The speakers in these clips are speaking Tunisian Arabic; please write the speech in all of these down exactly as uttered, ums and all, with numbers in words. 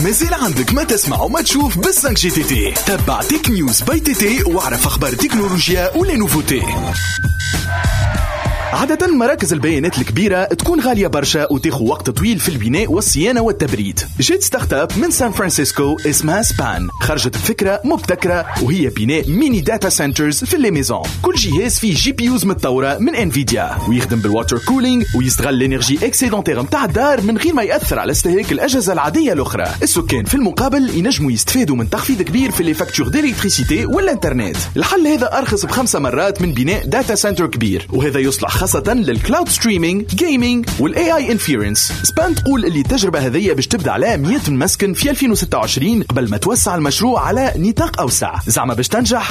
مازال عندك ما تسمع وما تشوف بال cinq G TT. تبع Tech News by TT واعرف اخبار التكنولوجيا و les nouveautés. عادة مراكز البيانات الكبيرة تكون غالية برشا وتاخو وقت طويل في البناء والصيانة والتبريد. جات startup من سان فرانسيسكو اسمها Span، خرجت بفكرة مبتكرة وهي بناء mini data centers في les maisons. كل جهاز فيه GPUs متطورة من Nvidia ويخدم بال water cooling ويستغل l'énergie excédentaire نتاع الدار من غير ما يأثر على استهلاك الأجهزة العادية الأخرى. السكان في المقابل ينجموا يستفادوا من تخفيض كبير في les factures d'électricité والانترنت. الحل هذا أرخص بخمسة مرات من بناء data center كبير، وهذا يصلح خاصة لل cloud streaming، gaming وال AI inference. Span تقول اللي التجربة هذه باش تبدا على مية مسكن في ألفين وستة وعشرين قبل ما توسع المشروع على نطاق أوسع. زعما باش تنجح؟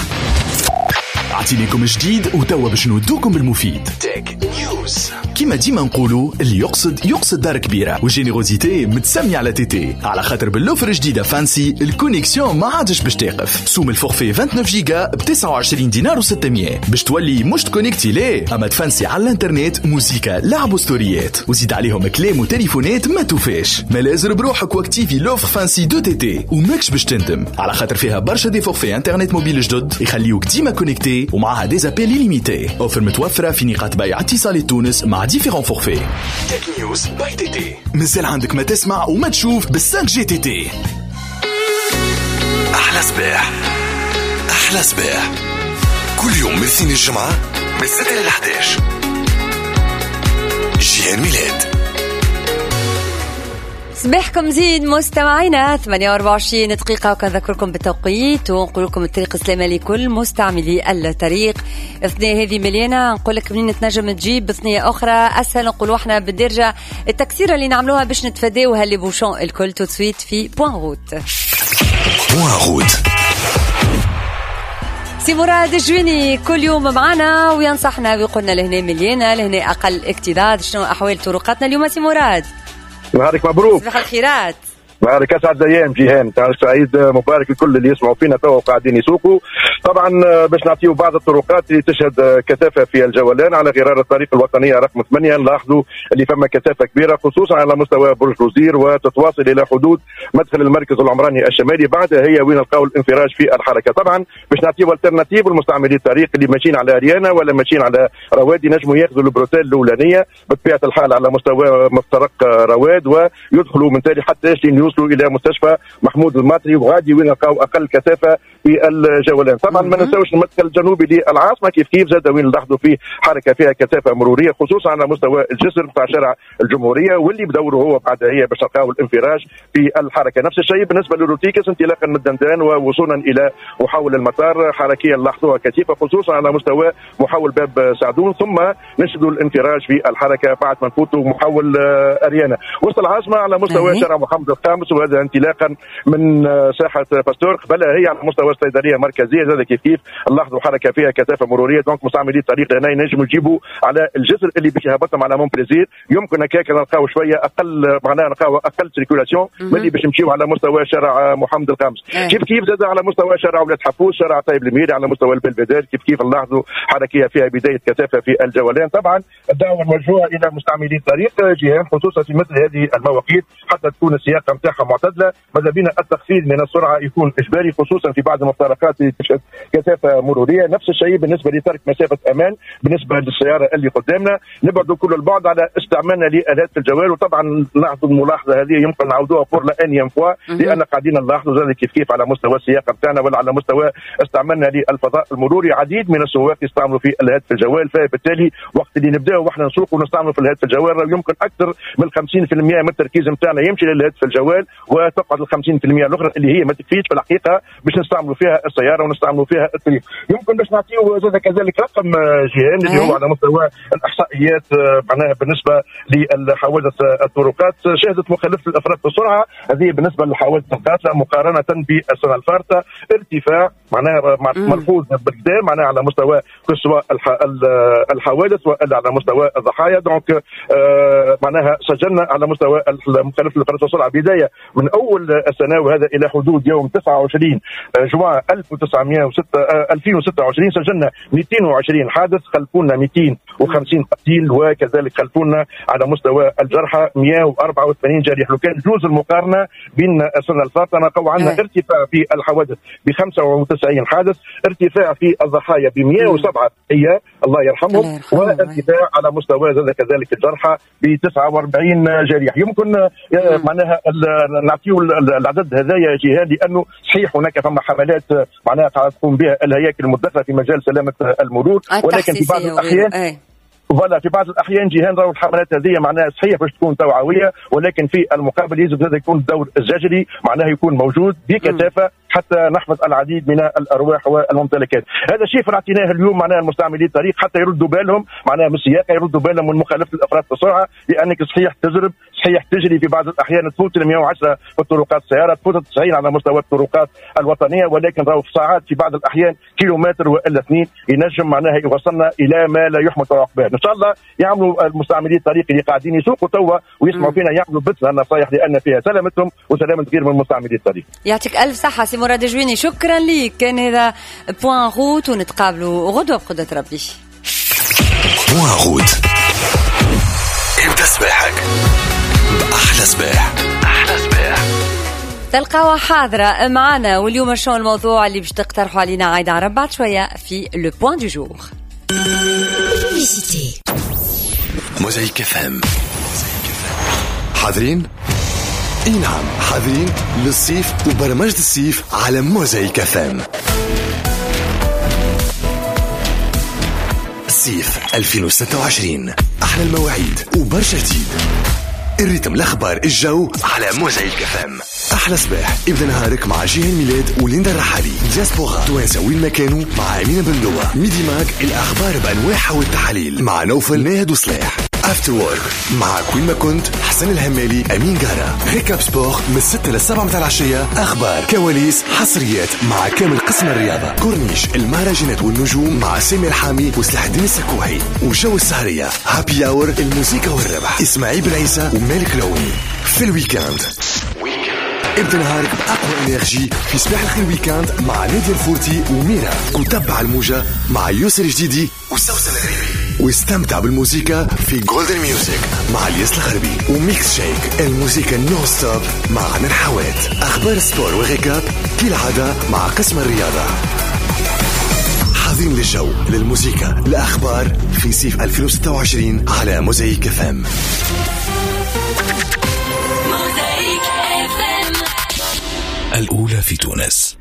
أعطينيكم جديد وتوا باش نودوكم بالمفيد. Tech News. كيما ديما نقولوا اللي يقصد يقصد دار كبيرة، وال générosité متسمية على TT، على خاطر بال offre جديدة Fancy ال connexion ما عادش باش تقف. سوم ال forfait تسعة وعشرين جيجا ب تسعة وعشرين دينار وستمية باش تولي مش تكونكتي ليه، اما تفانسي على الانترنت، موزيكا، لعب وستوريات، وزيد عليهم كلام وتليفونات ما توفاش. ملازر بروحك واكتيفي l'offre Fancy de TT وماكش باش تندم، على خاطر فيها برشا des forfaits internet mobile جدد يخليوك ديما connecté ومعها des appels illimités. offre متوفرة في نقاط بيع اتصالات تونس مع différents forfaits. Tech News by TT. مازال عندك ما تسمع وما تشوف بال cinq G TT. أحلى صباح، أحلى صباح كل يوم من اثنين الجمعة من ستة إلى أحد عشر. جيهان ميلاد. صباحكم زين مستمعينا، ثمانية وأربعة وعشرين دقيقة، وكنذكركم بالتوقيت ونقول لكم الطريق السلامة لكل مستعملي الطريق. الثنية هذه مليانة، نقول لك منين تنجم تجيب ثنية أخرى أسهل، نقولوا احنا بالدرجة التكسيرة اللي نعملوها باش نتفاداوها les bouchons الكل. tout de suite في Point Route. Point Route. سي مراد الجويني كل يوم معنا وينصحنا ويقولنا لهنا مليانة، لهنا أقل اكتظاظ، شنو أحوال طرقاتنا اليوم سي مراد؟ نهارك مبروك. صباح الخيرات. نهارك اسعد ايام جيهان، نهارك سعيد مبارك لكل اللي يسمعوا فينا توا وقاعدين يسوقوا. طبعا باش نعطيو بعض الطرقات اللي تشهد كثافة في الجولان على غرار الطريق الوطنية رقم ثمانية، نلاحظوا اللي فما كثافة كبيرة خصوصا على مستوى برج الوزير وتتواصل الى حدود مدخل المركز العمراني الشمالي، بعدها هي وين نلقاو الانفراج في الحركة. طبعا باش نعطيو alternative لمستعملي الطريق اللي ماشيين على اريانا ولا ماشيين على روادي، نجموا ياخذوا ال bretelle الاولانية بطبيعة الحال على مستوى مفترق رواد ويدخلوا من تالي حتى يوصلوا الى مستشفى محمود الماطري، وغادي وين نلقاو اقل كثافة في الجولان. طبعا ما ننساوش المدخل الجنوبي للعاصمه كيف كيف زاد وين نلاحظوا فيه حركة فيها كثافة مروريه خصوصا على مستوى الجسر بتاع شارع الجمهورية واللي بدوره هو بعد هي باش نلقاو الانفراج في الحركة. نفس الشيء بالنسبة للروتيكس انطلاقا من الدندان ووصولا الى محول المطار، حركية نلاحظوها كثيفة خصوصا على مستوى محول باب سعدون، ثم نشهدوا الانفراج في الحركة بعد ما نفوتوا محول اريانا. وسط العاصمة على مستوى شارع محمد الخامس، وهذا انطلاقا من ساحة باستور، قبلها هي على مستوى الصيدلية المركزية زاد كيف كيف نلاحظوا حركة فيها كثافة مروريه. donc مستعملي الطريق هنا ينجموا يجيبوا على الجسر اللي باش يهبطهم على مونبليزير، يمكن هكاك نلقاو شوية اقل، معناها نلقاو اقل circulation من اللي باش نمشيو على مستوى شارع محمد الخامس. كيف كيف زاد على مستوى شارع ولاد حفوز، شارع طيب الميري، على مستوى البلفيدير كيف كيف نلاحظوا حركية فيها بداية كثافة في الجولان. طبعا الدعوة الموجهة الى مستعملي الطريق جيهان خصوصا في مثل هذه المواقيت حتى تكون السياقه نتاعها معتدلة، ماذا بينا التخفيض من السرعة يكون اجباري خصوصا في بعض المفترقات اللي تشهد كثافة مروريه. نفس الشيء بالنسبة لترك مسافة امان بالنسبة للسيارة اللي قدامنا، نبعدوا كل البعد على استعمالنا لالات الجوال. وطبعا نلاحظوا الملاحظة هذه يمكن نعاودوها pour la énième fois، لان قاعدين نلاحظوا زاد كيف كيف على مستوى السياقه نتاعنا ولا على مستوى استعمالنا للفضاء المروري عديد من السواق يستعملوا في الهاتف الجوال، فبالتالي وقت اللي نبداو واحنا نسوق ونستعملوا في الهاتف الجوال يمكن اكثر من خمسين بالمئة من التركيز نتاعنا يمشي للهاتف الجوال، وتقعد ال خمسين بالمئة الاخرى اللي هي ما تكفيش في الحقيقة باش نستعملوا فيها السيارة ونستعملوا فيها الطريق. يمكن باش نعطيو زاد كذلك رقم جيهان اللي هو على مستوى الاحصائيات، معناها بالنسبة للحوادث الطرقات شهدت مخالفة الافراد بالسرعة، هذه بالنسبة للحوادث القاتلة مقارنة بالسنة الفارطه ارتفاع معناها ملحوظ بالكدا، معناها على مستوى سواء الحوادث والا على مستوى الضحايا. donc معناها سجلنا على مستوى مخالفة الافراد بالسرعة بداية من اول السنة وهذا الى حدود يوم تسعة وعشرين جوان جوان ألف وتسعمائة وستة ألفين وستة وعشرين سجلنا مئتين وعشرين حادث، خلفونا مئتين وخمسين قتيل، وكذلك خلفونا على مستوى الجرحى مئة وأربعة وثمانين جريح. لو كان جوز المقارنة بين السنة الفاتة نلقاو عندنا ارتفاع في الحوادث ب خمسة وتسعين حادث، ارتفاع في الضحايا ب مئة وسبعة هي الله يرحمهم، وارتفاع على مستوى كذلك الجرحى ب تسعة وأربعين جريح. يمكن معناها نعطيو العدد هذايا جهاد، لانه صحيح هناك فما حملات معناها تقوم بها الهياكل المتدخله في مجال سلامه المرور، ولكن في بعض الاحيان voilà في بعض الاحيان جيهان راهو الحملات هذه معناها صحيح باش تكون توعوية، ولكن في المقابل يجب هذا يكون الدور الزجري معناها يكون موجود بكثافة حتى نحفظ العديد من الارواح والممتلكات. هذا الشيء اعطيناه اليوم معناها المستعملي الطريق حتى يردوا بالهم معناها من السياقه، يردوا بالهم من مخالفة الافراط في السرعة، لانك صحيح تزرب، صحيح تجري في بعض الاحيان تفوت ال مئة وعشرة في الطرقات السيارة، تفوت تسعين على مستوى الطرقات الوطنية، ولكن راهو في ساعات في بعض الاحيان كيلومتر والا اثنين ينجم معناها يوصلنا الى ما لا يحمد عقباه. ان شاء الله يعملوا المستعملي الطريق اللي قاعدين يسوقوا توا ويسمعوا فينا يعملوا بث النصائح، لان فيها سلامتهم وسلامه غير من مستعملي الطريق. يعطيك الف صحة سي مراد جويني، شكرا ليك. كان هذا Point Route، ونتقابلوا غدوه بقدره ربي. Point Route، ابدا صباحك بأحلى صباح. أحلى صباح تلقاوها حاضرة معنا. واليوم شو الموضوع اللي باش تقترحوا علينا عايدة عرب بعد شوية في le point du jour. موزايك اف ام، حاضرين؟ اي نعم، حاضرين للصيف وبرمجة الصيف على موزايك اف ام. الصيف ألفين وستة وعشرين، احلى المواعيد وبرشا جديد، ال rythme، الاخبار، الجو على موزايك اف ام. احلى صباح، ابدا نهارك مع جيهان ميلاد وليندا الرحالي، دياسبورا توانسة وين ما كانوا مع امينه بندوه، Midi Mag الاخبار بانواعها والتحاليل مع نوفل ناهد وصلاح، After Work معك وين ما كنت حسن الهمالي امين قارة، Récap Sport من ستة للسبعة متاع العشية، اخبار كواليس حصريات مع كامل قسم الرياضة، كورنيش المهرجانات والنجوم مع سامي الحامي وسلاح الدين السكوحي، وجو السهريه happy hour الموسيقى والربح اسماعيل بن عيسى ومالك العوني. في ال week-end ابدا نهارك بأقوى énergie في صباح الخير week-end مع نادية الفورتي وميرا، وتبع الموجة مع يوسف الجديدي وسوسن الغريبي، واستمتع بالموسيقى في Golden Music مع الياس الغربي، و Mix Shake الموسيقى non-stop مع عنان حوات، أخبار sport و récap كالعادة مع قسم الرياضة. حاضرين للجو للموسيقى الأخبار في صيف ألفين وستة وعشرين على موزايك اف ام. الأولى في تونس.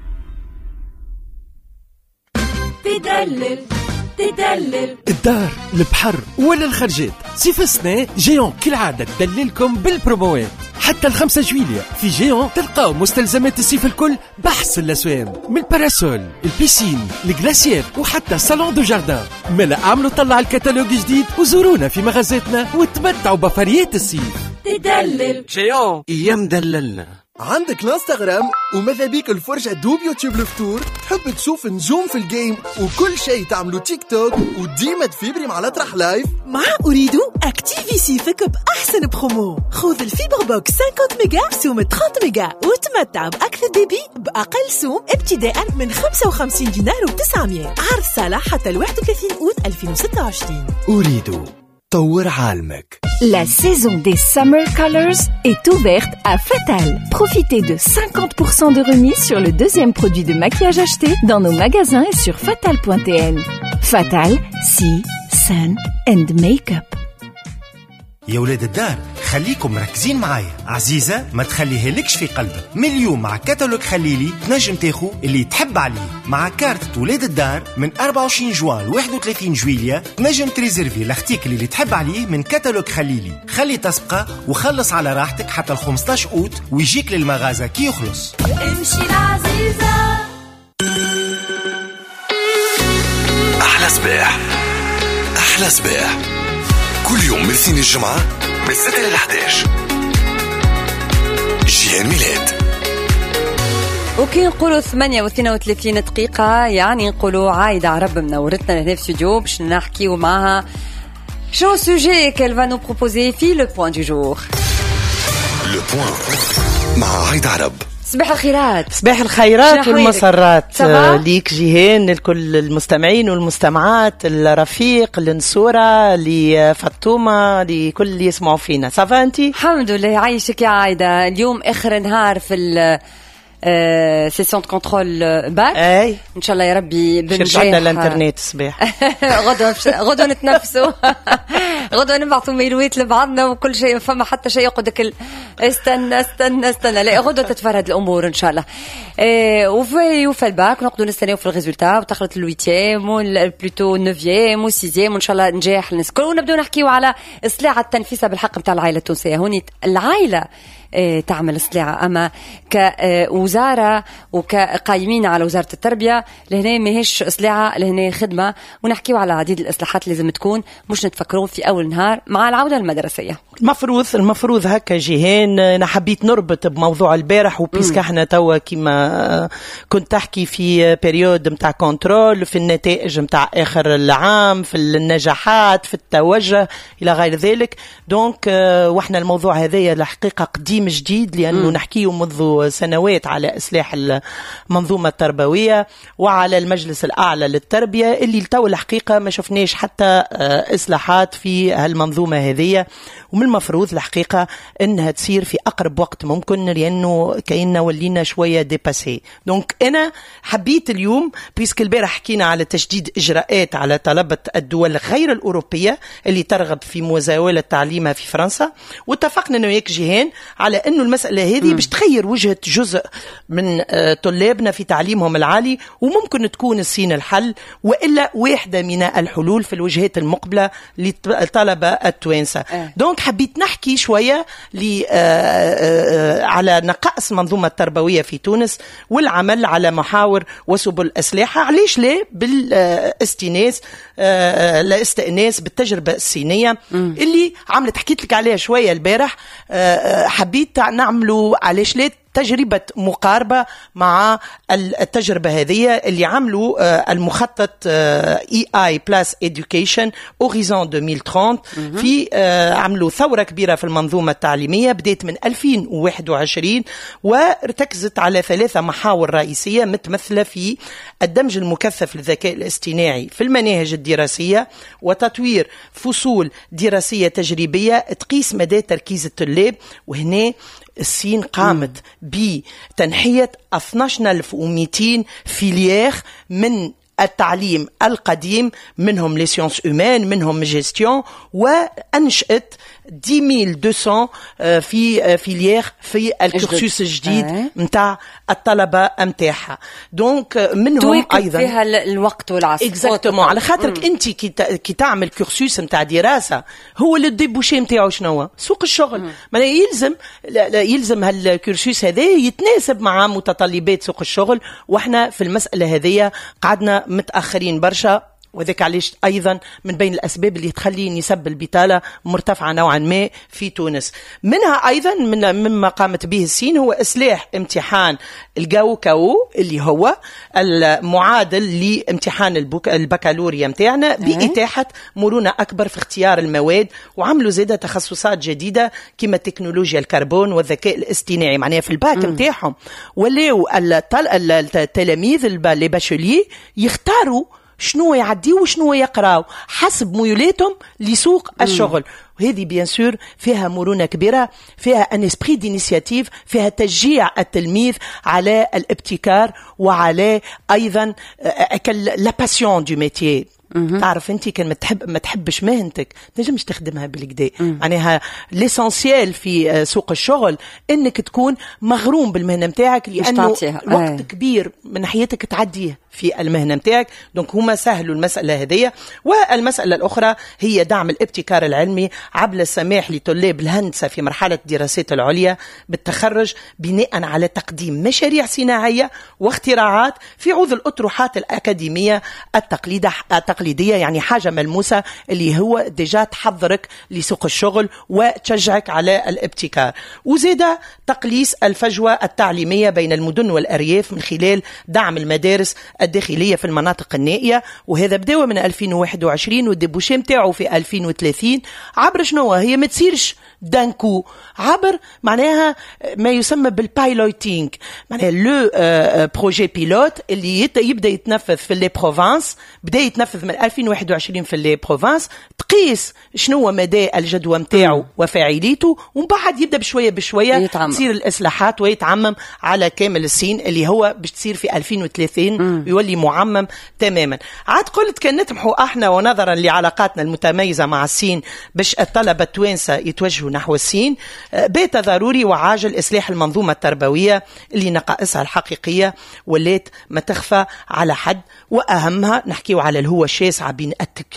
تدلل تدلل الدار، البحر ولا الخرجات، صيف السنة Géant كالعادة تدللكم بالبروموات حتى الخمسة جويلية. في Géant تلقاو مستلزمات الصيف الكل بأحسن الأسوام، من ال parasol، ال piscine، ال glacière وحتى salon de jardin. ملا اعملوا طلع الكتالوج جديد وزورونا في مغازاتنا وتمتعوا بفريات الصيف. تدلل Géant يا مدللنا. عندك الانستغرام وماذا بيك الفرجة دوب يوتيوب الفطور، تحب تشوف نجوم في ال game وكل شيء تعملو تيك توك وديما تفيبري مع الأطرح live. مع Ooredoo اكتيفي صيفك بأحسن برومو، خذ ال fibre box خمسين ميجا بسوم ثلاثين ميجا وتمتع بأكثر débit بأقل سوم ابتداء من خمسة وخمسين دينار وتسعمية. عرض صالح حتى واحد وثلاثين أوت ألفين وستة وعشرين. Ooredoo طور عالمك. La saison des Summer Colors est ouverte à Fatal. Profitez de cinquante pour cent de remise sur le deuxième produit de maquillage acheté dans nos magasins et sur fatal point t n. Fatal, Sea, Sun and Makeup. يا ولاد الدار خليكم مركزين معايا، عزيزة ما تخليها لكش في قلبك. من اليوم مع كتالوج خليلي تنجم تاخو اللي تحب عليه. مع كارت ولاد الدار من أربعة وعشرين جوان ل واحد وثلاثين جويلية تنجم تريزيرفي l'article اللي تحب عليه من كتالوج خليلي. خلي تسبقه وخلص على راحتك حتى ال خمسطاش أوت ويجيك للمغازة كي يخلص. امشي العزيزة. أحلى صباح، أحلى صباح كل يوم من الاثنين الجمعة من ستة إلى أحد عشر. جيهان ميلاد. وكي نقولوا ثمانية واثنين وثلاثين دقيقة يعني نقولوا عايدة عرب منورتنا هنا في استوديو باش نحكيو معها شنو sujet qu'elle va nous proposer في le point du jour. Le point مع عايدة عرب. صباح الخيرات. صباح الخيرات والمسرات ليك جيهان، لكل المستمعين والمستمعات، الرفيق، لنصورة، لفاطمة، لكل اللي يسمعوا فينا. ça va انت؟ الحمد لله، عايشك يا عايدة. اليوم اخر نهار في session contrôle bac. اي ان شاء الله يا ربي بنجاح. رجعنا الانترنت الصباح. غدوه غدوه نتنفسوا، غدوه نبعثوا ميلويت لبعضنا وكل شيء، فما حتى شيء يقعدك ال... استنى استنى استنى، لا غدوه تتفرد الامور ان شاء الله. إيه وفي وفي الباك نقعدوا نستناو في ال résultat وتخلط ال huitième plutôt neuvième و sixième، وان شاء الله نجاح الناس الكل. ونبداو نحكيو على سلاعه التنفيسه بالحق نتاع العائلة التونسية. هوني العائلة تعمل سلاعة، أما كوزارة وكقايمين على وزارة التربية لهنا ماهيش سلاعة، لهنا خدمة. ونحكيو على عديد الإصلاحات اللي لازم تكون، مش نتفكرون في أول نهار مع العودة المدرسية. المفروض المفروض هكا جيهان. أنا حبيت نربط بموضوع البارح، و puisque احنا توا كيما كنت تحكي في période متاع contrôle، في النتائج متاع آخر العام، في النجاحات، في التوجه إلى غير ذلك. donc واحنا الموضوع هذايا الحقيقة قديم جديد، لأنه نحكيه منذ سنوات على إصلاح المنظومة التربوية وعلى المجلس الأعلى للتربية، اللي لتو الحقيقة ما شفناش حتى إصلاحات في هالمنظومة هذه. ومن المفروض الحقيقة أنها تصير في أقرب وقت ممكن، لأنه كأننا ولينا شوية dépassés. donc أنا حبيت اليوم، puisque البارح حكينا على تشديد إجراءات على طلبة الدول غير الأوروبية اللي ترغب في مزاولة تعليمها في فرنسا، واتفقنا أنا وياك جيهان على أنه المسألة هذه باش تغير وجهة جزء من طلابنا في تعليمهم العالي، وممكن تكون الصين الحل وإلا واحدة من الحلول في الوجهات المقبلة للطلبة التوانسة. donc حبيت نحكي شوية على نقائص المنظومة التربوية في تونس والعمل على محاور وسبل أسلحة. علاش لا بالاستئناس الاستئناس بالتجربة الصينية اللي عملت، حكيت لك عليها شوية البارح. حبيت نعملوا علاش لا تجربة مقاربة مع التجربة هذه اللي عملوا المخطط إي آي Plus Education Horizon ألفين وثلاثين. في عملوا ثورة كبيرة في المنظومة التعليمية بدأت من ألفين وواحد وعشرين، وارتكزت على ثلاثة محاور رئيسية متمثلة في الدمج المكثف للذكاء الاصطناعي في المناهج الدراسية، وتطوير فصول دراسية تجريبية تقيس مدى تركيز الطلاب. وهنا الصين قامت بتنحية اثناش ألف ومئتين filière من التعليم القديم، منهم les sciences humaines، منهم gestion، وأنشأت عشرة آلاف ومئتين في filières في ال cursus الجديد نتاع الطلبة نتاعها. donc منهم ايضا فيها الوقت والعصر exactement، على خاطرك انت كي تعمل cursus نتاع دراسة هو le débouché نتاعو شنو سوق الشغل، معناها يلزم يلزم هال cursus هذا يتناسب مع متطلبات سوق الشغل، واحنا في المسالة هذه قعدنا متاخرين برشا. وذلك علاش أيضا من بين الأسباب اللي تخلي نسب البطالة مرتفعة نوعا ما في تونس. منها أيضا من مما قامت به الصين هو إصلاح امتحان الجاوكاو اللي هو المعادل لامتحان البكالوريا متاعنا بإتاحة مرونة أكبر في اختيار المواد، وعملوا زادة تخصصات جديدة كما تكنولوجيا الكربون والذكاء الاصطناعي. معناها في الباك متاعهم ولاو التلاميذ les bacheliers يختاروا شنو يعديو وشنو يقراو حسب ميولاتهم لسوق الشغل. وهذه bien sûr فيها مرونة كبيرة، فيها un esprit d'initiative، فيها تشجيع التلميذ على الابتكار وعلى ايضا la passion du métier. تعرف انت كان ما تحب ما تحبش مهنتك تنجمش تخدمها بالكدا. معناها l'essentiel في سوق الشغل انك تكون مغروم بالمهنه نتاعك، لانه وقت كبير من حياتك تعديه في المهنة نتاعك. donc هما سهلوا المسالة هذه. والمسالة الاخرى هي دعم الابتكار العلمي عبر السماح لطلاب الهندسة في مرحلة الدراسات العليا بالتخرج بناء على تقديم مشاريع صناعية واختراعات في عوض الاطروحات الاكاديمية التقليدية، يعني حاجة ملموسة اللي هو déjà تحضرك لسوق الشغل وتشجعك على الابتكار. وزيد تقليص الفجوة التعليمية بين المدن والارياف من خلال دعم المدارس الداخلية في المناطق النائية، وهذا بداوا من ألفين وواحد وعشرين وال débouché نتاعو في ألفين وثلاثين. عبر شنو هي ما تصيرش d'un coup، عبر معناها ما يسمى بال piloting، معناها le projet pilote اللي يبدا يتنفذ في les provinces، بدا يتنفذ من ألفين وواحد وعشرين في les provinces، تقيس شنو مدى الجدوى نتاعو وفاعليته، ومن بعد يبدا بشوية بشوية تصير الاصلاحات ويتعمم على كامل الصين، اللي هو باش تصير في ألفين وثلاثين يولي معمم تماما. عاد قلت كان نطمحوا احنا، ونظرا لعلاقاتنا المتميزة مع الصين، باش الطلبة التوانسة يتوجهوا نحو الصين، آه، بات ضروري وعاجل اصلاح المنظومة التربوية اللي نقائصها الحقيقية ولات ما تخفى على حد، واهمها نحكيو على الهوه الشاسعه بين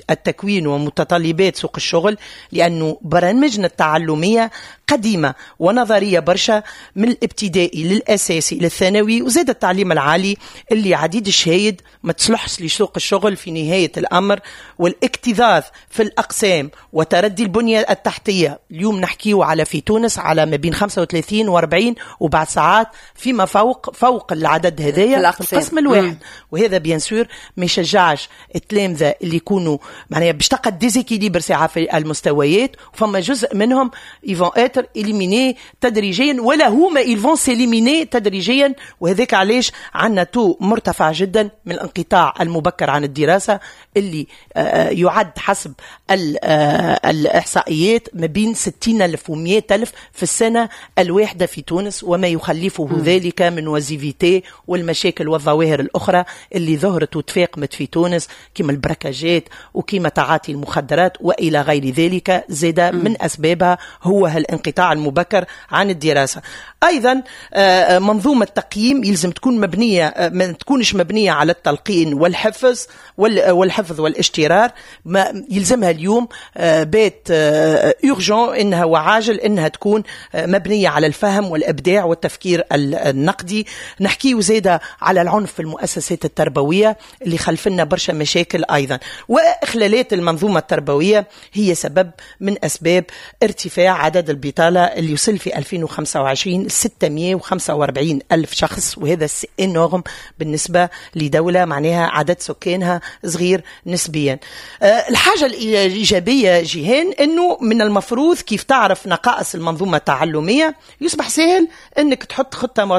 التكوين ومتطلبات سوق الشغل، لانه برامجنا التعلميه قديمة ونظريه برشا، من الابتدائي للاساسي للثانوي وزاد التعليم العالي، اللي عديد الشهايد ما تصلحش لسوق الشغل في نهاية الامر، والاكتظاظ في الاقسام وتردي البنية التحتيه. اليوم نحكيو على في تونس على ما بين خمسة وثلاثين وأربعين وبعد ساعات فيما فوق فوق العدد هذايا في القسم الواحد. مم. وهذا bien sûr ما يشجعش التلامذه اللي يكونوا معناها باش تلقى déséquilibre ساعة في المستويات، وفما جزء منهم ils vont être éliminés تدريجيا، ولا هما ils vont s'éliminer تدريجيا. وهذاك علاش عندنا taux مرتفع جدا من الانقطاع المبكر عن الدراسه، اللي آه، يعد حسب آه، الاحصائيات ما بين ستين ألف ومية ألف في السنة الواحدة في تونس، وما يخلفه ذلك من oisiveté والمشاكل والظواهر الأخرى اللي ظهرت وتفاقمت في تونس، كما البركاجات وكما تعاطي المخدرات وإلى غير ذلك. زاد من أسبابها هو هالانقطاع المبكر عن الدراسة. أيضا آه، منظومة تقييم يلزم تكون مبنية، آه، ما تكونش مبنية على التلقين والحفظ والحفظ والاجترار. ما يلزمها اليوم آه، بات urgent انها وعاجل انها تكون مبنية على الفهم والابداع والتفكير النقدي. نحكي زاده على العنف في المؤسسات التربوية اللي خلفنا برشا مشاكل ايضا، واخلالات المنظومة التربوية هي سبب من اسباب ارتفاع عدد البطالة اللي وصل في ألفين وخمسة وعشرين ستمية وخمسة وأربعين ألف شخص، وهذا c'est énorme بالنسبة لدولة معناها عدد سكانها صغير نسبيا. آه، الحاجة الإيجابية جيهان أنه من المفروض كيف تعرف نقائص المنظومة التعلمية يصبح سهل أنك تحط خطة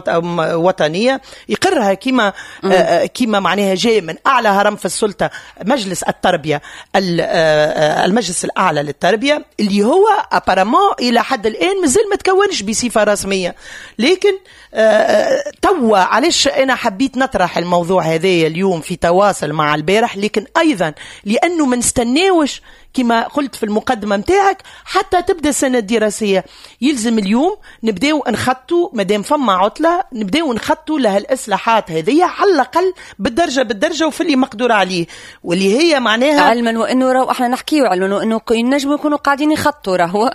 وطنية يقرها كما آه، كما معناها جاي من أعلى هرم في السلطة، مجلس التربية، المجلس الأعلى للتربية، اللي هو apparemment إلى حد الآن مازال ما تكونش بصفة رسمية. لكن آه، توا علاش أنا حبيت نطرح الموضوع هذا اليوم في تواصل مع البارح، لكن أيضا لأنه ما نستناوش كما قلت في المقدمة متاعك حتى تبدا السنة الدراسية. يلزم اليوم نبداو نخطوا، مادام فما عطلة نبداو نخطوا لها الإصلاحات هذه على الأقل بالدرجة بالدرجة وفي اللي مقدور عليه، واللي هي معناها علما وانه راهو احنا نحكيو، علما وانه ينجموا يكونوا قاعدين يخطوا. راهو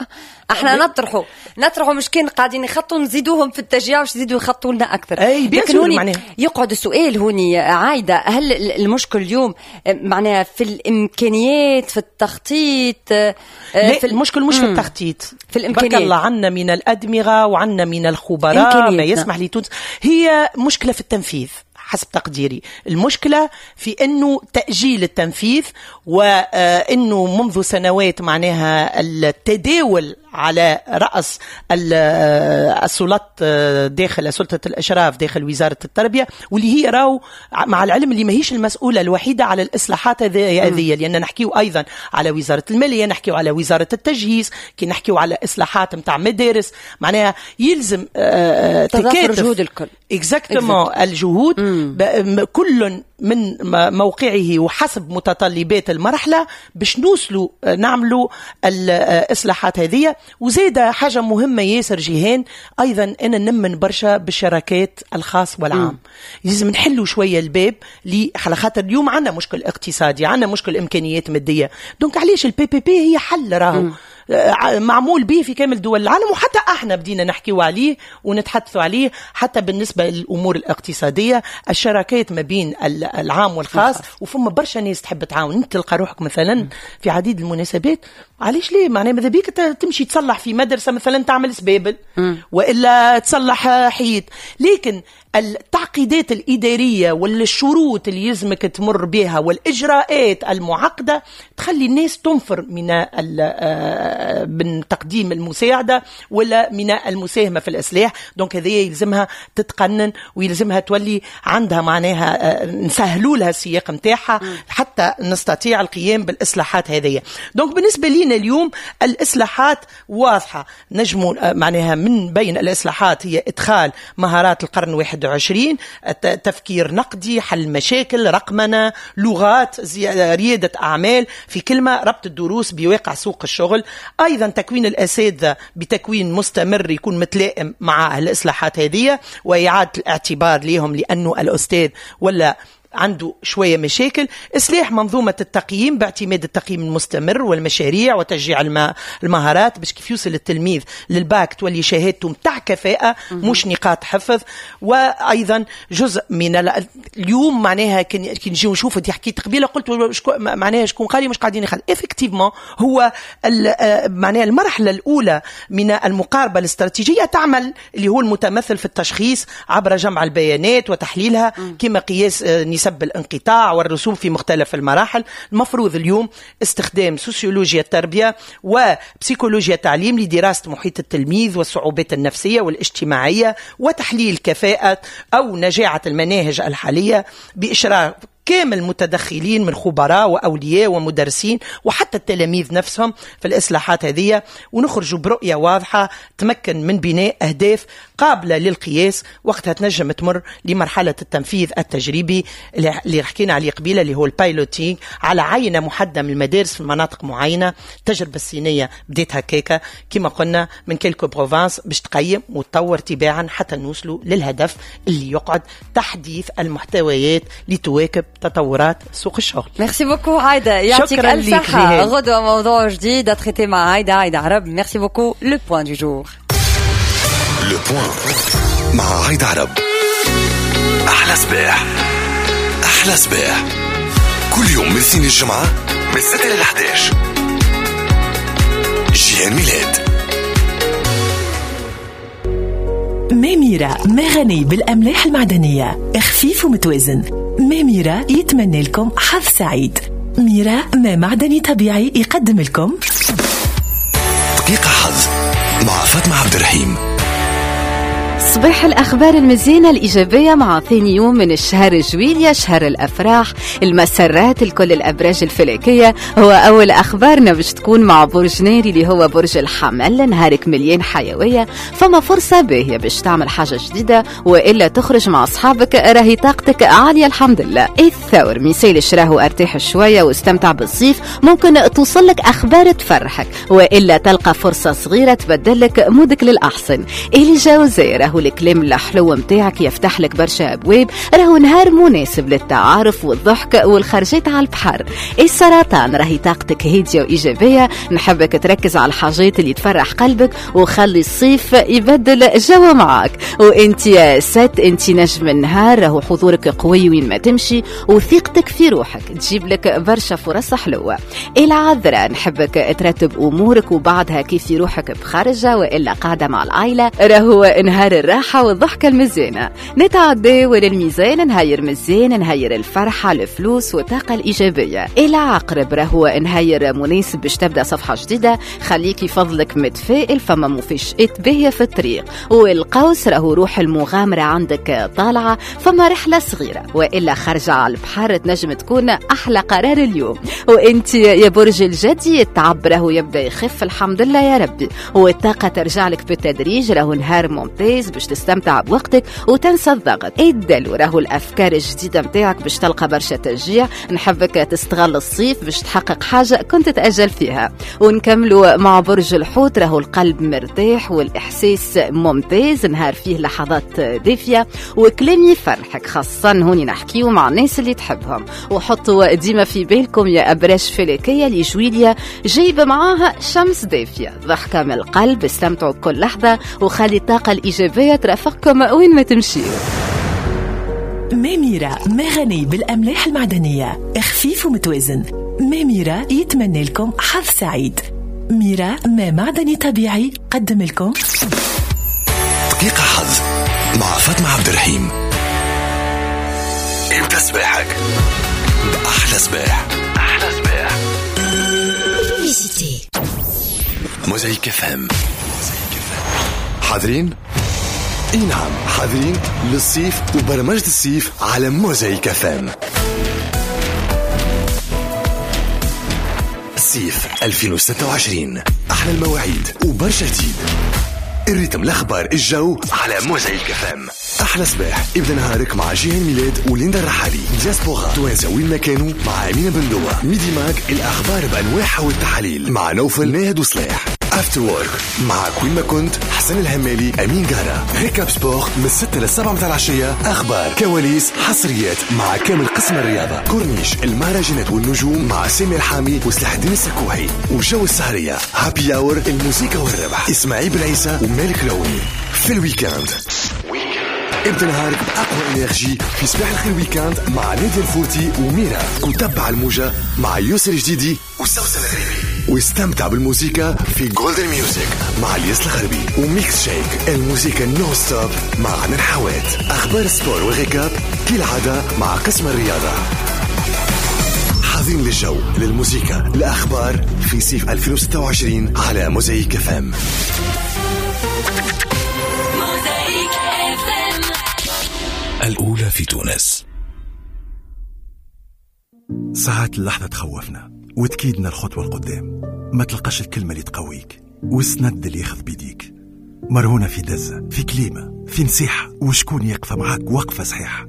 احنا نطرحوا نطرحوا، مش كان قاعدين يخطوا نزيدوهم في التشجيع باش يزيدوا يخطوا لنا اكثر. اي لكن هوني يقعد السؤال هوني عايده، هل المشكل اليوم معناها في الامكانيات، في التخطيط؟ لا، في المشكل مش في التخطيط. في الامكانيات. بارك الله عنا من الادمغه وعنا من الخبراء ما يسمح لتونس. هي مشكلة في التنفيذ حسب تقديري. المشكلة في أنه تأجيل التنفيذ، وأنه منذ سنوات معناها التداول على رأس السلطات داخل سلطة الإشراف داخل وزارة التربية، واللي هي راو مع العلم اللي ماهيش المسؤولة الوحيدة على الإصلاحات هذه، لأن نحكيو أيضا على وزارة المالية، نحكيو على وزارة التجهيز، كي نحكيو على إصلاحات متاع مدارس معناها يلزم تكاتف جهود الكل. exactement، الجهود كل من موقعه وحسب متطلبات المرحلة باش نوصلوا نعملوا الإصلاحات هذه. وزيد حاجة مهمة ياسر جيهان أيضا، أنا نمن برشا بالشراكات الخاص والعام. لازم نحلوا شوية الباب على خاطر اليوم عندنا مشكل اقتصادي، عندنا مشكل إمكانيات مادية، donc علاش ال PPP هي حل راهو معمول به في كامل دول العالم، وحتى احنا بدينا نحكيو عليه ونتحدثوا عليه حتى بالنسبة للامور الاقتصاديه، الشراكات ما بين العام والخاص. وفما برشا ناس تحب تعاون. انت تلقى روحك مثلا في عديد المناسبات، علاش ليه؟ معناها ماذا بيك تمشي تصلح في مدرسه مثلا، تعمل سبابل والا تصلح حيط، لكن التعقيدات الإدارية والشروط اللي يلزمك تمر بها والإجراءات المعقدة تخلي الناس تنفر من من تقديم المساعدة ولا من المساهمة في الإصلاح. donc هذه يلزمها تتقنن ويلزمها تولي عندها معناها نسهلوا لها السياق نتاعها حتى نستطيع القيام بالإصلاحات هذه. donc بالنسبة لنا اليوم الإصلاحات واضحة، نجموا معناها من بين الإصلاحات هي إدخال مهارات القرن واحد وعشرين، تفكير نقدي، حل مشاكل، رقمنة، لغات، ريادة أعمال، في كلمة ربط الدروس بواقع سوق الشغل. أيضا تكوين الأساتذة بتكوين مستمر يكون متلائم مع الإصلاحات هذه، وإعادة الاعتبار لهم لأنه الأستاذ ولا عنده شوية مشاكل. إصلاح منظومة التقييم باعتماد التقييم المستمر والمشاريع وتشجيع المهارات باش كيف يوصل التلميذ للباك تولي شهادته متاع كفاءة مش نقاط حفظ. وأيضا جزء من اليوم معناها كي نجيو نشوف، انت حكيت قبيلة قلت شكو معناها شكون قال مش قاعدين يخل effectivement هو معناها المرحلة الأولى من المقاربة الاستراتيجية تعمل اللي هو المتمثل في التشخيص عبر جمع البيانات وتحليلها كما قياس نسب الانقطاع والرسوب في مختلف المراحل. المفروض اليوم استخدام سوسيولوجيا التربية وبسيكولوجيا التعليم لدراسة محيط التلميذ والصعوبات النفسية والاجتماعية وتحليل كفاءة أو نجاعة المناهج الحالية بإشراك كامل المتدخلين من خبراء وأولياء ومدرسين وحتى التلاميذ نفسهم في الإصلاحات هذه، ونخرج برؤية واضحة تمكن من بناء أهداف قابلة للقياس. وقتها تنجم تمر لمرحلة التنفيذ التجريبي اللي حكينا عليه قبيلة اللي هو ال piloting على عينة محددة من المدارس في مناطق معينة. التجربة الصينية بديت هكاكا كما قلنا من quelques provinces باش تقيم وتطور تباعا حتى نوصلوا للهدف اللي يقعد تحديث المحتويات لتواكب تطورات سوق الشغل. merci beaucoup عايدة، يعطيك ألف صحة. غدوة موضوع جديد à traiter مع عايدة، عايدة عرب. merci beaucoup. le point du jour، le point مع عايدة عرب. أحلى صباح، أحلى صباح كل يوم من اثنين الجمعة من ستة إلى أحد عشر. جيهان ميلاد. ميميرا مغني بالأملاح المعدنية، خفيف ومتوازن. ميميرا يتمنى لكم حظ سعيد. ميرا ما معدني طبيعي يقدم لكم دقيقة حظ مع فاطمة عبد الرحيم. صباح الأخبار المزينة الإيجابية مع ثاني يوم من الشهر جويليا، شهر الأفراح المسرات لكل الأبراج الفلكية. هو أول أخبارنا باش تكون مع برج ناري اللي هو برج الحمل. نهارك مليان حيوية، فما فرصة باهية باش تعمل حاجة جديدة وإلا تخرج مع أصحابك، راهي طاقتك عالية الحمد لله. الثور ميسيل شراهو ارتاح شوية واستمتع بالصيف، ممكن توصلك أخبار تفرحك وإلا تلقى فرصة صغيرة تبدلك مودك للأحسن. الجوزاء راهو الكلام الحلو متاعك يفتح لك برشا أبواب، راهو نهار مناسب للتعارف والضحك والخرجات على البحر. السرطان راهي طاقتك هادية وإيجابية، نحبك تركز على الحاجات اللي تفرح قلبك وخلي الصيف يبدل جو معاك. وانت يا ست انت نجم النهار، راهو حضورك قوي وين ما تمشي وثقتك في روحك تجيب لك برشا فرص حلوة. العذراء نحبك ترتب أمورك وبعدها كيف روحك بخرجة وإلا قاعدة مع العائلة، راهو نهار الراحة والضحكة المزيانة. نتعدى وللميزان، نهاير مزيان، نهاير الفرحة الفلوس والطاقة الإيجابية. العقرب راهو نهاير مناسب باش تبدأ صفحة جديدة، خليكي فضلك متفائل فما مفاجآت باهية في الطريق. والقوس راهو روح المغامرة عندك طالعة، فما رحلة صغيرة وإلا خرجة على البحر تنجم تكون أحلى قرار اليوم. وانت يا برج الجدي التعب راهو يبدأ يخف الحمد لله يا ربي، والطاقة ترجع لك بالتدريج، راهو نهار ممتاز باش تستمتع بوقتك وتنسى الضغط. الدلو راهو الأفكار الجديدة متاعك باش تلقى برشا تشجيع، نحبك تستغل الصيف باش تحقق حاجة كنت تأجل فيها. ونكملوا مع برج الحوت، راهو القلب مرتاح والإحساس ممتاز، نهار فيه لحظات دافية وكلام يفرحك، خاصة هوني نحكيو مع الناس اللي تحبهم. وحطوا ديما في بالكم يا أبراج فلكية لجويليا جايبة معاها شمس دافية، ضحكة من القلب، استمتعوا بكل لحظة وخلي الطاقة الإيجابية ترافقكم وين ما تمشيوا. ميميرا مغني بالأملاح المعدنية، خفيف ومتوازن. ميميرا يتمنى لكم حظ سعيد. ميرا ما معدني طبيعي قدم لكم دقيقة حظ مع فاطمة عبد الرحيم. امتى صباحك بأحلى صباح. أحلى صباح. موزايك FM. حاضرين؟ اي نعم، حاضرين للصيف وبرمجة الصيف على موزايك FM. الصيف ألفين وستة وعشرين، احلى المواعيد وبرشا جديد. ال rythme، الاخبار، الجو على موزايك FM. احلى صباح، ابدا نهارك مع جيهان ميلاد وليندا الرحالي. دياسبورا توانسة وين ما كانوا مع امينه بندوه. Midi Mag، الاخبار بانواعها والتحاليل مع نوفل ناهد وصلاح. After Work معك وين ما كنت، حسن الهمالي، امين قارة. Récap Sport من ستة للسبعة متاع العشية، اخبار، كواليس، حصريات مع كامل قسم الرياضة. كورنيش المهرجانات والنجوم مع سامي الحامي وسلاح الدين السكوحي. وجو السهريه، happy hour، الموسيقى والربح، اسماعيل بالعيسى ومالك العوني. في ال week-end ابدا نهارك بأقوى énergie في صباح الخير week-end مع نادية الفورتي وميرا، وتبع الموجة مع يوسف الجديدي وسوسن الغريبي، واستمتع بالموسيقى في Golden Music مع الياس الغربي، و Mix Shake الموسيقى non-stop مع عنان حوات. أخبار sport و récap كالعادة مع قسم الرياضة. حاضرين للجو، للموسيقى، الأخبار في صيف ألفين وستة وعشرين على موزايك FM. الأولى في تونس. ساعات اللحظة تخوفنا وتكيدنا الخطوة القدام، ما تلقاش الكلمة اللي تقويك والسند اللي ياخذ بيديك. مرهونة في دزة، في كليمة، في نصيحة، وشكون يقف معاك وقفة صحيحة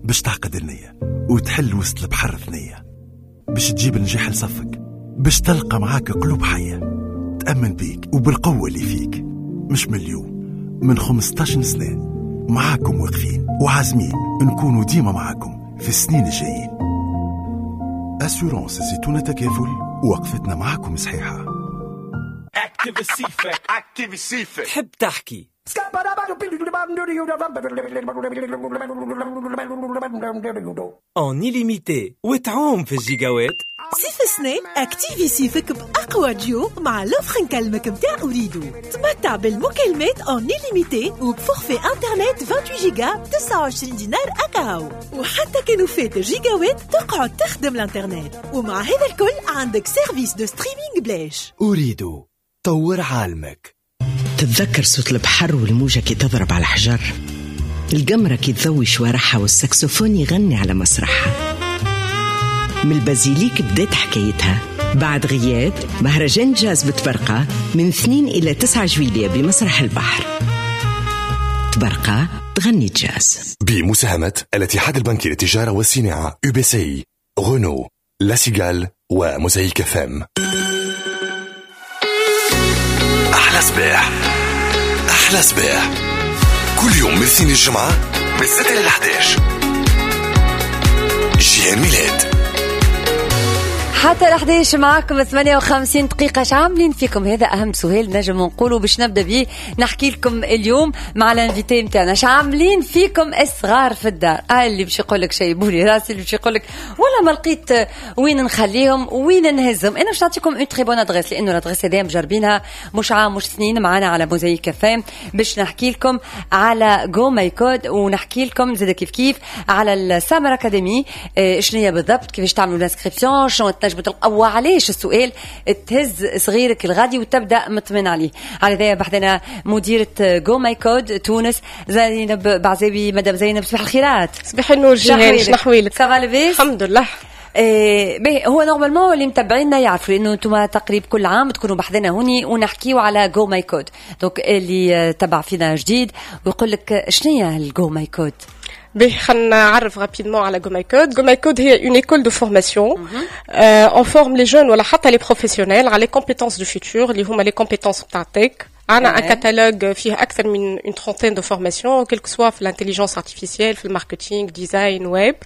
باش تعقد النية وتحل وسط البحر ثنية، باش تجيب النجاح لصفك، باش تلقى معاك قلوب حية تأمن بيك وبالقوة اللي فيك. مش من اليوم، من خمسة عشر سنة معاكم واقفين وعازمين نكونوا ديما معاكم في السنين الجايين. Assurances زيتونة تكافل، وقفتنا معاكم صحيحة. تحب تحكي en illimité وتعوم في الجيجاوات. صيف سنة activer صيفك بأقوى ديو مع l'offre نكلمك متاع أوريدو. تمتع بالمكالمات en illimité وب forfait internet ثمانية وعشرين جيجا ب تسعة وعشرين دينار أكاهو، وحتى كانوا فات جيجاوات تقعد تخدم الانترنت. ومع هذا الكل عندك service de streaming بلاش. أوريدو، طور عالمك. تتذكر صوت البحر والموجة كي تضرب على الحجر، القمرة كي تضوي شوارعها، والساكسوفون يغني على مسرحها. من البازيليك بدأت حكايتها بعد غياب مهرجان جاز بتبرقة من اثنين إلى تسعة جويلية بمسرح البحر. تبرقة تغني جاز. بمساهمة الاتحاد البنكي للتجارة والصناعة UBCI، Renault، La Cigale وموزايك FM. أحلى صباح، أحلى صباح كل يوم من اثنين الجمعة من ستة إلى أحد عشر. جيهان ميلاد حتى الأحداش معاكم ثمانية وخمسين دقيقة. اش عاملين فيكم؟ هذا أهم سؤال نجم نقوله باش نبدأ بيه نحكي لكم اليوم مع ال invité نتاعنا. اش عاملين فيكم الصغار في الدار؟ آه اللي باش يقول لك شيبولي راسي، اللي باش يقول لك ولا ما لقيت وين نخليهم وين نهزهم. أنا باش نعطيكم une très bonne adresse، لأنه l'adresse هذه مجربينها مش عام مش سنين معنا على موزايك FM، باش نحكي لكم على GoMyCode ونحكي لكم زاد كيف كيف على ال Summer Academy، شنو هي بالضبط، كيفاش تعملوا l'inscription، شنو تنجم تلقوا، علاش السؤال تهز صغيرك الغادي وتبدا مطمن عليه. على ذا بحذنا مديره GoMyCode تونس زينب بعزاوي. مدام زينب صباح الخيرات. صباح النور جيهان، شنو احوالك؟ ça va لاباس؟ الحمد لله. إيه باهي، هو normalement اللي متابعينا يعرفوا لانه انتم تقريبا كل عام تكونوا بحذنا هوني ونحكيو على GoMyCode. donc اللي تبع فينا جديد ويقول لك شنو هي ال GoMyCode؟ باهي، خلينا نعرف rapidement على GoMyCode. GoMyCode هي une école de formation. Euh, on forme les jeunes ولا حتى les professionnels على les compétences du futur اللي هما les compétences بتاع tech. عندنا un catalogue فيه أكثر من une trentaine de formations, quel que soit في l'intelligence artificielle، في ال marketing، design، web.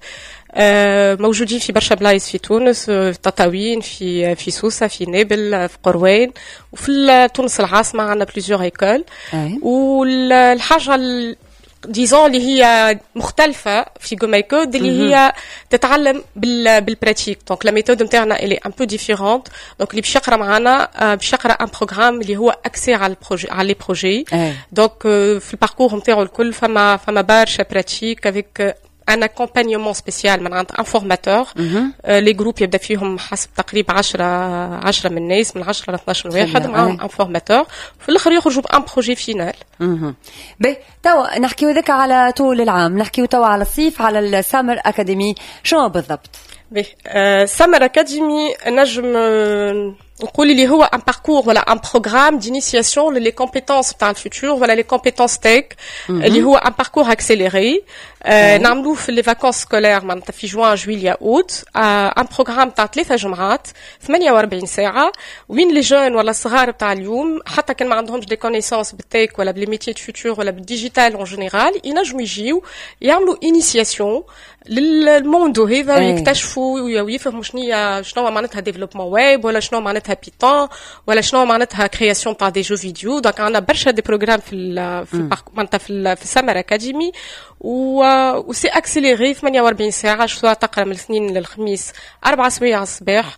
موجودين في برشا بلايص في تونس، في تطاوين، في في سوسة، في نابل، في قروان، وفي تونس العاصمة عندنا plusieurs écoles. والحاجة disons اللي هي مختلفة في GoMyCode اللي هي تتعلم بال بال pratique. donc la méthode نتاعنا elle est un peu différente. donc اللي باش يقرا معنا باش يقرا un programme اللي هو axé على ال projet، على les projets. donc في ال parcours نتاعو الكل فما فما برشا pratique avec un accompagnement spécial من عند un formateur. les groupes يبدا فيهم حسب تقريبا عشرة عشرة من الناس، من عشرة ل اثناش واحد معاهم un formateur، في الاخر يخرجوا ب un projet final. باهي، توا نحكيو ذاك على طول العام، نحكيو توا على الصيف، على ال Summer Academy، شنو بالضبط؟ باهي، Summer Academy نجم نقول اللي هو un parcours ولا un programme d'initiation les compétences تاع ال futur ولا les compétences tech، اللي هو un parcours accéléré نعملوه في les vacances scolaires، معناتها في جوان جويليا اوت، un programme تاع ثلاثة جمعات ثمانية وأربعين ساعه، وين les jeunes ولا الصغار بتاع اليوم حتى كان ما عندهمش des connaissances بال tech ولا ب les métiers du futur ولا بال digital en général، ينجموا يجيو يعملوا initiation لل monde هذا ويكتشفوا ويفهموا شنو شنو معناتها développement web ولا شنو معناتها Python ولا شنو معناتها création تاع des jeux vidéo. donc عندنا برشا des programmes في ال في معناتها في في ال Summer Academy و c'est accéléré ثمانية وأربعين ساعه، soit تقرا من الاثنين للخميس اربع سوايع الصباح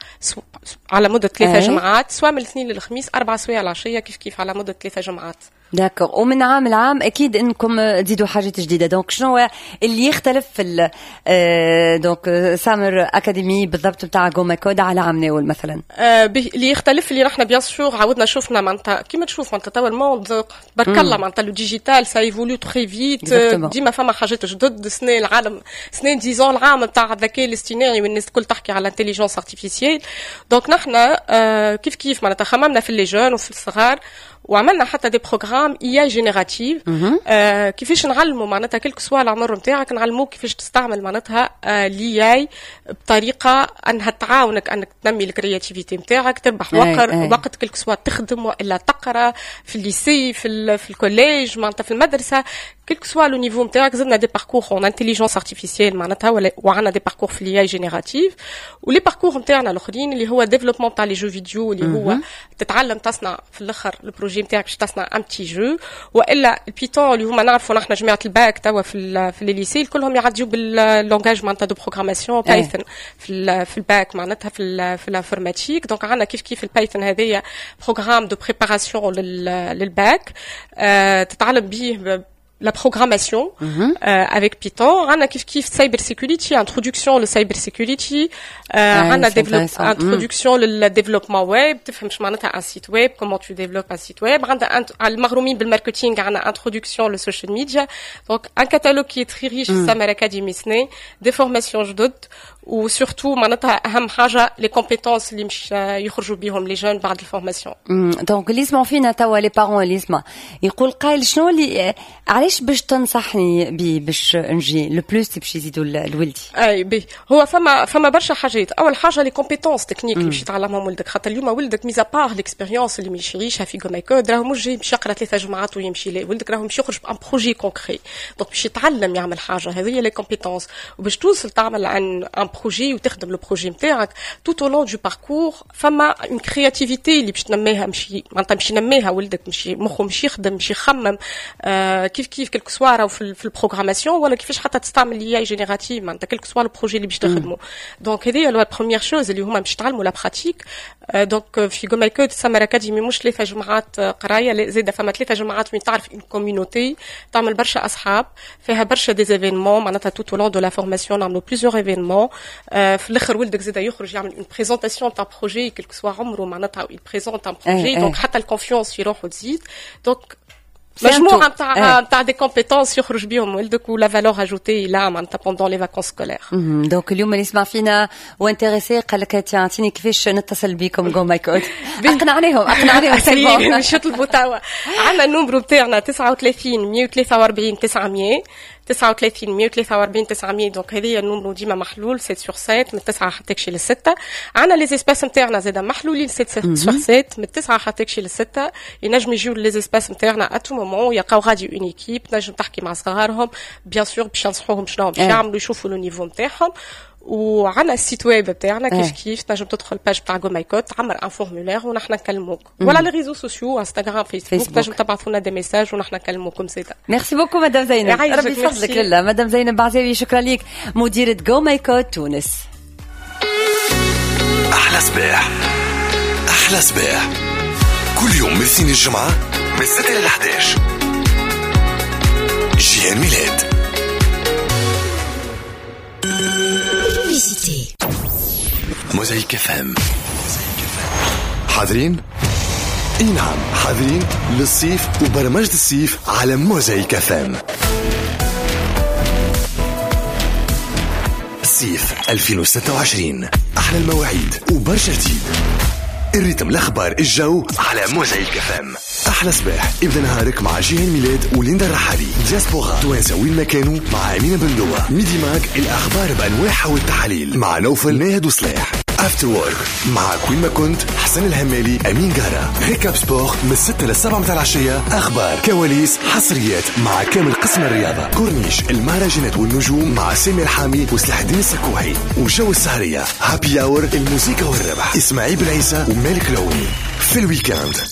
على مده ثلاثة جمعات، soit من الاثنين للخميس اربع سوايع العشية كيف كيف على مده ثلاثة جمعات. d'accord، ومن عام لعام اكيد انكم تزيدوا حاجات جديده، donc شنو اللي يختلف في donc Summer Academy بالضبط نتاع GoMyCode على عام ناول مثلا؟ آه اللي يختلف اللي نحن bien sûr عاودنا شفنا، معناتها كيما تشوف معناتها توا ال monde تبارك الله معناتها le digital ça évolue très vite، ديما فما حاجات جدد. سنة العالم سنة disons العام نتاع الذكاء الاصطناعي والناس الكل تحكي على l'intelligence artificielle. donc نحن آه كيف كيف معناتها خممنا في les jeunes وفي الصغار وعملنا حتى des programmes IA générative، آه كيفاش نعلموا معناتها quel que soit العمر نتاعك نعلموك كيفاش تستعمل معناتها آه l'IA بطريقة انها تعاونك انك تنمي ال créativité نتاعك، تربح وقت وقت quel que soit تخدم والا تقرا في ال lycée، في في ال collège، معناتها في المدرسه، quel que soit le niveau نتاعك. زدنا des parcours en intelligence artificielle معناتها وعندنا des parcours في l'IA générative، و les parcours نتاعنا الاخرين اللي هو développement تاع les jeux vidéo، اللي هو تتعلم تصنع في الاخر ال projet نتاعك باش تصنع un petit jeu، والا ال Python اللي هما نعرفوا نحن جماعة الباك توا في في les lycées كلهم يعديو بال langage معناتها de programmation Python في في الباك معناتها في في l'informatique. donc عندنا كيف كيف ال Python هذايا programme de préparation لل bac، آه تتعلم به la programmation mm -hmm. euh, avec Python. On a كيف كيف cyber security، introduction le cyber security، euh, on a introduction le développement web، تفهم شو معناتها un site web، comment tu développes un site web. عندنا المغرومين بال marketing، عندنا introduction le social media. donc un catalogue qui est très riche في Summer Academy سنة، des formations جدد و surtout معناتها اهم حاجة les compétences اللي مش يخرجوا بهم les jeunes بعد ال formation. donc اللي يسمعوا فينا توا، les parents اللي يسمع يقول قايل شنو اللي علاش باش تنصحني بي باش نجي le plus باش يزيدوا لولدي؟ اي بي، هو فما فما برشا حاجات. اول حاجة les compétences techniques اللي باش يتعلمهم ولدك، خاطر اليوم ولدك mis à part l'expérience اللي مش يعيشها في GoMyCode، راهو مش جاي باش يقرا ثلاثة جمعات ويمشي. لا، ولدك راهو مش يخرج ب un projet concret، donc باش يتعلم يعمل حاجه، هذه هي les compétences. وباش توصل تعمل un un projet وتخدم le projet نتاعك tout au long du parcours، فما une créativité اللي باش تنميها، مش معناتها مش ينميها ولدك، مش مخه مش يخدم، مش يخمم آه كيف كيف quel que soit في, في ال programmation ولا كيفاش حتى تستعمل l'IA générative، معناتها quel que soit le projet اللي باش تخدمه. donc هذه la première chose اللي هما باش يتعلموا la pratique. donc في GoMyCode Summer Academy مش ثلاثة جمعات قرايه، زاده فما ثلاثة جمعات وين تعرف une communauté، تعمل برشا اصحاب، فيها برشا des événements، معناتها tout au long de la formation نعملوا plusieurs événements. في الاخر ولدك زاده يخرج يعمل une présentation تاع projet، quel que soit عمره معناتها il présente un projet، donc حتى ال confiance في روحه تزيد. donc مجموعة نتاع نتاع des compétences يخرج بهم ولدك و la valeur ajoutée là معناتها pendant les vacances scolaires. donc اليوم اللي يسمع فينا و intéressé قال لك اعطيني كيفاش نتصل بكم GoMyCode، اقنعناهم اقنعناهم. مش يطلبوا توا، عندنا ال numéro نتاعنا تسعة وثلاثين مية وثلاثة وأربعين تسعمية، تسعة وثلاثين مية وثلاثة وأربعين تسعمية. donc هذه ال numéro ديما محلول sept sur sept من تسعة حتى كشي للستة. عندنا les espaces نتاعنا زاده محلولين sept sur sept من تسعة حتى كشي للستة، ينجم يجيو les espaces نتاعنا à tout moment، يلقاو غادي une équipe تنجم تحكي مع صغارهم، bien sûr باش ينصحوهم شنو باش يعملوا، يشوفوا le niveau نتاعهم. وعندنا ال site web بتاعنا كيف كيف، تنجم تدخل page بتاع GoMyCode، تعمر un formulaire ونحن نكلموك، ولا les réseaux sociaux انستغرام فيسبوك، تنجم تبعثوا لنا des messages ونحن نكلموكم زاده. merci beaucoup madame زينب، ربي يفضلك لله. مدام زينب بعزاوي، شكرا لك، مديرة GoMyCode تونس. احلى صباح، احلى صباح كل يوم من اثنين الجمعة من ستة ل إحداش، جيهان ميلاد. L'été. موزايك FM. حاضرين؟ اي نعم، حاضرين للصيف وبرمجة الصيف على موزايك FM. صيف ألفين وستة وعشرين، احلى المواعيد وبرشا جديد. ال rythme، الاخبار، الجو على موزايك FM. احلى صباح، ابدا نهارك مع جيهان ميلاد وليندا الرحالي. دياسبورا توانسة وين ما كانوا مع امينه بندوه. Midi Mag، الاخبار بانواعها والتحاليل مع نوفل ناهد وصلاح. After Work معك وين ما كنت، حسن الهمالي، امين قارة. Récap Sport من ستة للسبعة متاع العشية، اخبار، كواليس، حصريات مع كامل قسم الرياضة. كورنيش المهرجانات والنجوم مع سامي الحامي وسلاح الدين السكوحي. وجو السهريه، Happy Hour، الموسيقى والربح، اسماعيل بالعيسى ومالك العوني. في ال week-end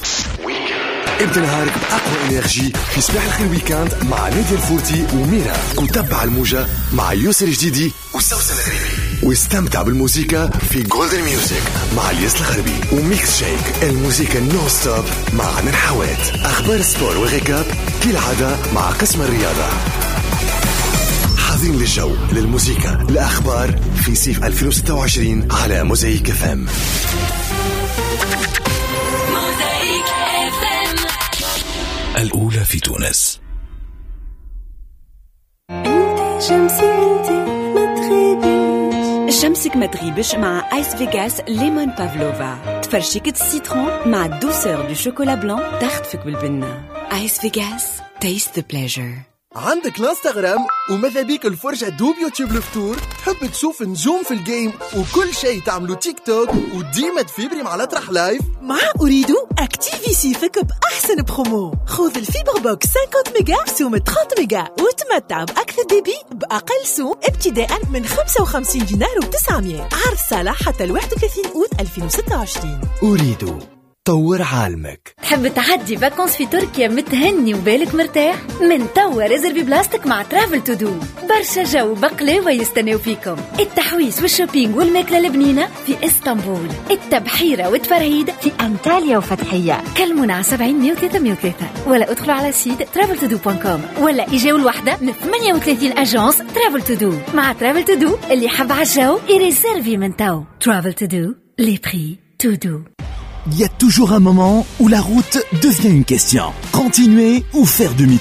ابدا نهارك بأقوى énergie في صباح الخير week-end مع نادية الفورتي وميرا، وتبع الموجة مع يوسر جديدي وسوسن الغريبي، واستمتع بالموسيقى في Golden Music مع الياس الغربي و Mix Shake، الموسيقى non-stop مع عنان حوات. أخبار sport و récap كالعادة مع قسم الرياضة. حاضرين للجو، للموسيقى، الأخبار في صيف ألفين وستة وعشرين على موزايك FM. الأولى في تونس. انت شمسي، انت ما تغيبيش. شمسك ما تغيبش مع Ice Vegas lemon pavlova، تفرشيكة ال citron مع douceur du chocolat blanc تخطفك بالبنة. Ice Vegas، taste the pleasure. عندك الانستغرام وماذا بيك الفرجة دوب يوتيوب الفطور، تحب تشوف نجوم في ال game وكل شيء تعملو تيك توك وديما تفيبري مع الأطرح live. مع أوريدو activi صيفك بأحسن برومو، خذ ال fibre box خمسين ميجا بسوم ثلاثين ميجا وتمتع بأكثر débit بأقل سوم ابتداء من خمسة وخمسين دينار وتسعمية. عرض صالح حتى الواحد وثلاثين أوت ألفين وستة وعشرين. أوريدو، طور عالمك. تحب تعدي vacances في تركيا متهني وبالك مرتاح؟ من توا réservi بلاصتك مع Travel To Do. برشا جو بقلاوة يستناو فيكم، التحويس وال shopping والماكلة البنينة في اسطنبول، التبحيرة والتفرهيد في أنطاليا وفتحية. كلمونا على سبعين مية وثلاثة مية وثلاثة ولا ادخلوا على site Travel To Do point com ولا اجاو الوحدة من ثمانية وثلاثين agence Travel To Do. مع Travel To Do اللي حب على الجو يريزيرفي من تو. Travel To Do، les prix tout doux. Il y a toujours un moment où la route devient une question. Continuer ou faire demi-tour.